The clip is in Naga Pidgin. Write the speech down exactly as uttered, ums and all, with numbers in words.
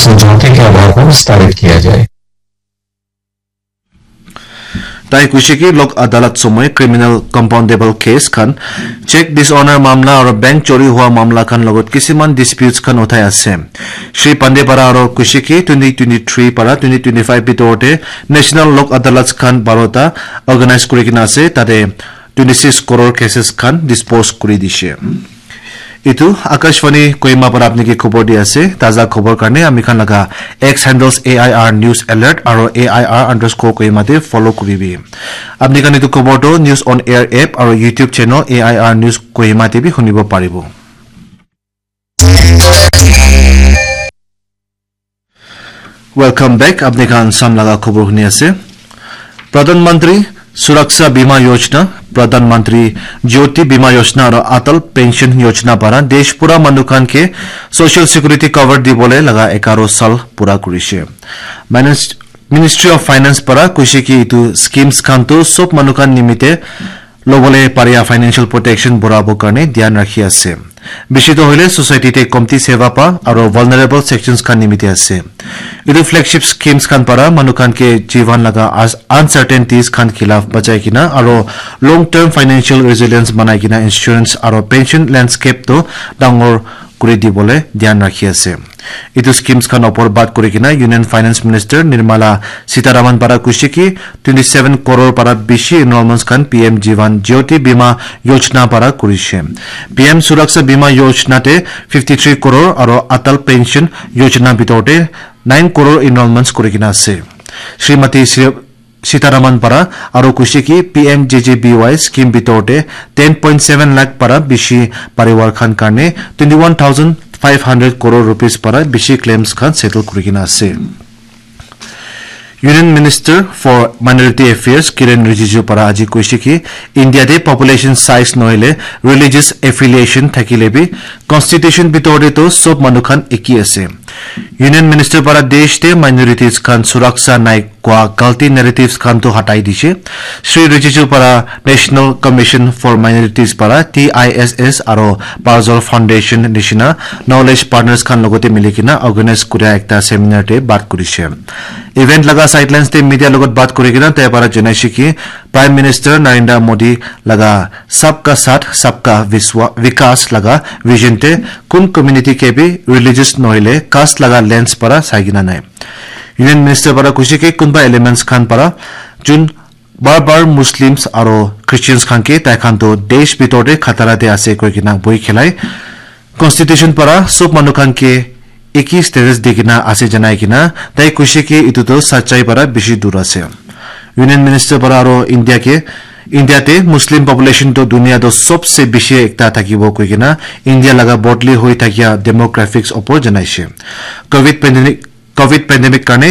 समझौते के आधार पर विस्तारित किया जाए। Tai kuishe ki lok adalat somoy criminal compoundable case khan, cheque dishonor mamla aro bank chori hua mamla khan logot kisiman disputes khan uthai ase. Shri Pandey para aro kuishe ki twenty twenty-three para twenty twenty-five bitor te national lok adalats khan barota organize kuri kena ase, tate twenty-six crore cases khan dispose kuri dishe. Itu Akashvani Kohima para apni ke khobor di ase. Taza khobor karne ami khan laga X handles A I R News Alert aro A I R underscore Kohima te follow kuribi. Apni khan itu khobor to News on Air app aro YouTube channel A I R News Kohima te bi hunibo paribo. Welcome back. Apni khan sam laga khobor huni ase. Pradhan Mantri Suraksha Bima Yojana, Pradhan Mantri Jyoti Bima Yojana aro Atal Pension Yojana para desh pura manu khan ke social security cover dibole laga ekaro sal pura kurishe. Minis-, Ministry of Finance para kuishe ki itu schemes khan tu sob manu khan nimite lobole paria financial protection borabo karne dhyan rakhi ase. Bishi to hoile society te komti seva pa aro vulnerable sections khan nimite ase. Itu flagship schemes khan para manu khan ke jivan laga as-, uncertainties khan khilaf bachai kena aro long term financial resilience banai kena insurance aro pension landscape to dangor kuri dibole dhyan rakhi ase. Itu schemes khan opor baat kuri kena Union Finance Minister Nirmala Sitharaman para kuishe ki twenty-seven crore para bishi enrollments khan P M Jivan Jyoti Bima Yojana para kurishe. P M Suraksha Bima Yojana te fifty-three crore aro Atal Pension Yojana bitor te nine crore enrollments kuri kena ase. Srimati Sri Sitharaman para aro kuishe ki P M J J B Y scheme bitor te ten point seven lakh para bishi parivar khan karne twenty-one thousand five hundred crore rupees para bishi claims khan settle kuri kena ase. Union Minister for Minority Affairs Kiren Rijiju para aji kuishe ki India te population size nohile religious affiliation thakile bi constitution bitor te to sob manu khan eki ase. Union Minister para desh te minorities khan suraksha nai kua galti narratives khan tu hatai dishe. Shri Rijiju para National Commission for Minorities para T I S S aro Parzul Foundation nishina knowledge partners khan logote mili kena organize kuria ekta seminar te baat kurishe. Event laga sidelines te media logot baat kuri kena tai para janaishe ki Prime Minister Narendra Modi laga Sabka Saath, Sabka Viswa-, Vikas laga vision te kun community ke bi religious nohile caste laga lens para sai kena nai. Union Minister para kuishe ki kunba elements khan para jun bar bar Muslims aro Christians khan ke tai khan to desh bitor te khatara te ase koi kena boi khelai. Constitution para sob manu khan ke eki status di kena ase janai kena tai kuishe ki itu to sachai para bishi dur ase. Union Minister para aro India ke, India te Muslim population to dunia to sobse bishi ekta thakibo koi kena India laga bodli hoi thakia demographics opor janaishe. Covid pandemic, Covid pandemic karne